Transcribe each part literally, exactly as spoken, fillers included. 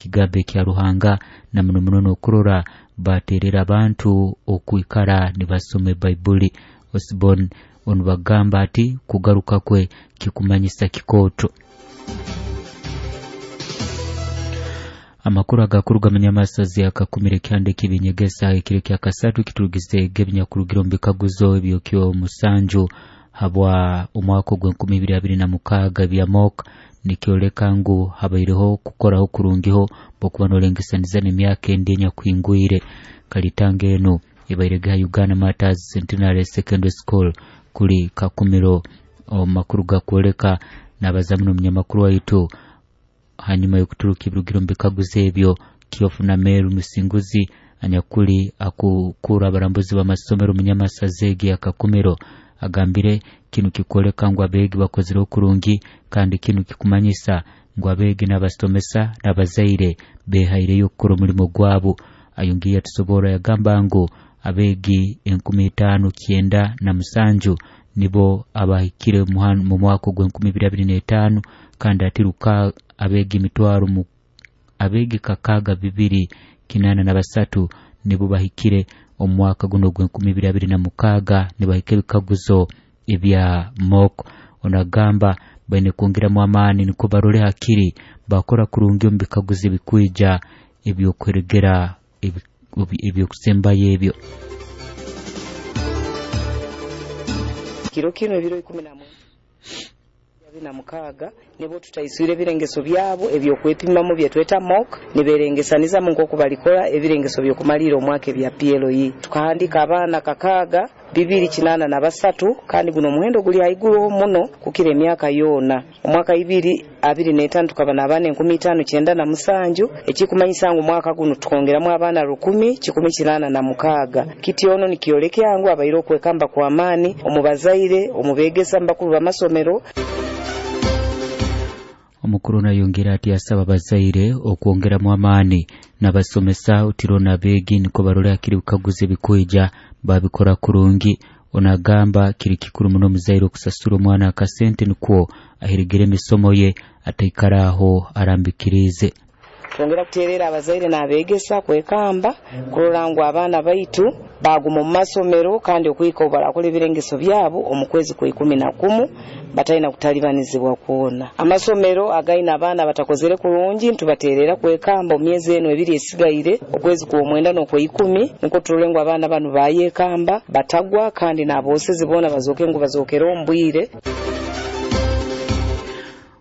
Ekigambo ekya Ruhanga na muno muno n'okurora baterera abantu okwikara nibasoma Baibuli. Osborne onu bagamba ati kugaruka kwe kikumanyisa kikooto. Amakuru agakuruga munyamasazi akakumira ekyanda ekibinyegesa ekiro kya kasatu kiturugize gebinyakurugiro mu bikaguzo ebyokyo musanju habwa omwaka ogw'enkumi ibiri abiri na mukaaga bya mock nikyoleka ngu habaireho kukoraho kurungiho bwokuba nolengesaniza n'emyaka endi enyakuhingwire. Kalitanga enu ebairege ha Uganda Martyrs Centenary Secondary School kuli Kakumiro. Omu makuru gakwoleka n'abazamu n'omunyamakuru waitu hanyuma y'okuturuka ebirugiro mu bikaguzo ebyo, Kyofu na Meru Musinguzi anyakuli akukura abarambuzi b'amasomero munyamasazi egi ya Kakumiro agambire kinu kikwoleka ngu abeegi bakozire okurungi, kandi kinu kikumanyisa ngu abeegi n'abasomesa n'abazaire behaireyo okukora omulimo gwabo. Ayongiire yatusoborra yagamba ngu abeegi enkumi itaano kyenda na musanju nibo abahikire mu mwaka ogw'enkumi ibiri abiri n'etaano, kandi ati ruka abeegi emitwaro mu abeegi kakaaga bibiri kinaana na basatu nibo bahikire omu mwaka guno ogw'enkumi ibiri abiri na mukaaga nibahika ebikaguzo ebya mock. Onagamba baine kwongeramu amaani nikwo barole hakiri bakora kurungi omu bikaguzo ebikwija ebyokuheregera ebyokusembayo ebyo. Kiro kino ebiro ikumi na mwenda na mukaaga nibo tutaiswire ebirengeso byabo ebyokwepimamu byetweta mock niberengesanizamu nk'oku balikora ebirengeso by'okumalira omwaka ebya P L E. Tukahandika abaana kakaaga bibiri kinana na basatu, kandi guno omuhendo guli haiguru muno kukira emyaka yoona. Omwaka ibiri abiri n'etaano tukaba n'abaana enkumi itaano kyenda na musanju, ekikumanyisa ngu omwaka guno tukongeramu abaana rukumi kikumi kinana na mukaaga. Kiti ono nikyolekya ngu abaire okwekamba kwa amaani omu bazaire, omu beegesa, mu bakuru b'amasomero. Omukuru nayongera ati asaba abazaire okwongeramu amaani n'abasomesa otiro n'abeegi niko barole hakiri bikaguzo ebikwija babikora kurungi. Onagamba kiri kikuru muno omuzaire okusasura omwana akasente nikwo aheregere emisomo ye ataikara aho arambikirize. Twongera kuterera abazaire n'abeegesa kwekamba kurora ngu abaana baitu baguma omu masomero, kandi okwika obarakora ebirengeso byabo omu kwezi kwa ikumi na kumu batalina kutalibanizibwa kwona. Amasomero againa abaana batakozere kurungi ntubaterera kwekamba omu myezi eno ebiri esigaire okwezi kwa omwenda n'okwa ikumi niko turole ngu abaana banu bayekamba batagwa, kandi n'abosezi boona bazoke ngu bazokere ombwire.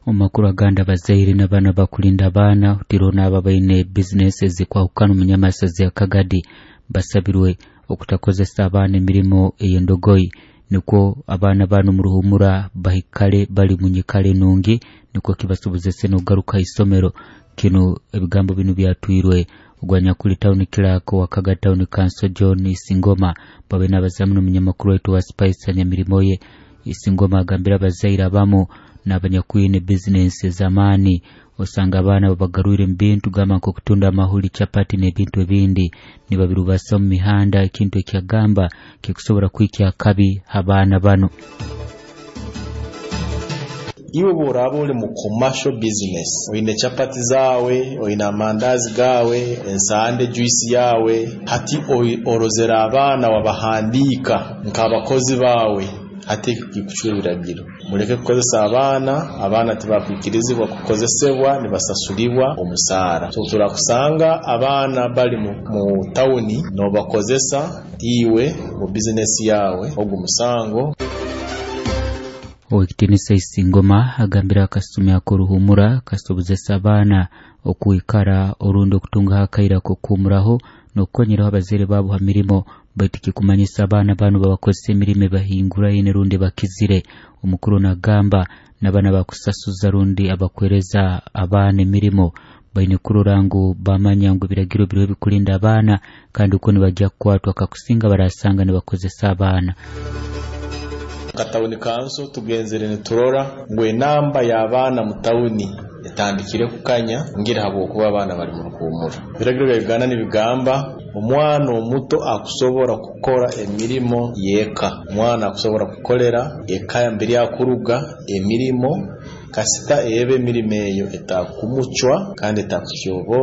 Omakuru aganda abazaire n'abaana bakulinda abaana otiro n'abo abaine bizinesi ezikwahukana omunyamasazi ya Kagadi basabirwe okutakozesa abaana emirimo ey'endogoyi nikwo abaana bano mu ruhumura bahikale bali mu nyikara enungi nikwo kibasobozese n'okugaruka isomero. Kino ebigambo bino byatwirwe ogwanyakuli town clerk wa Kagadi Town Council John Isingoma babe n'abazamu n'omunyamakuru waitu wa Spice Nyamirimo ye. Isingoma agambira abazaire abamu n'abanyakwine bizinesi ez'amaani osanga abaana babagarwire mu bintu gamba nk'okutunda amahuli, chapati n'ebintu ebindi nibabirubasa mu mihanda, ekintu ekyagamba kikusobora kwikya akabi abaana bano. Iwe bw'oraba ori mu commercial business, oine chapati zawe, oine amandazi gawe, ensande juice yawe, hati orozera abaana wabahandiika nk'abakozi bawe, hati kikucwa ebiragiro. Muleke kukozesa abaana, abaana tibakwikirizibwa kukozesebwa, nibasasulibwa omusaara. So turakusanga abaana bali mu, mu tawuni nobakozesa iwe mu bizinesi yawe, ogu musango. Owekitinisa Isingoma agambira akasumi ak'oruhumura kasobozesa abaana okwikara orundi okutunga akaira k'okuhumuraho n'okukonyeraho abazaire baabo ha mirimo, baitu kikumanyisa abaana bano babakozesa emirimo ebahinguraine rundi bakizire. Omukuru nagamba n'abaana bakusasuza rundi abakwereza abaana emirimo baine kurora ngu bamanya ngu ebiragiro biriho ebikulinda abaana, kandi uko nibajya kukwatwa kakusinga barasanga nibakozesa abaana. Katawuni kanso tugenzere niturora ngu enamba y'abaana mu tawuni etandikire kukanya ngira habwokuba abaana bali mu ruhumura. Ebiragiro bya Uganda nibigamba omwana omuto akusobora kukora emirimo y'eka, omwana akusobora kukolera eka mbere yakuruga emirimo kasita ebe emirimo eyo etakumucwa kandi etakutyobora.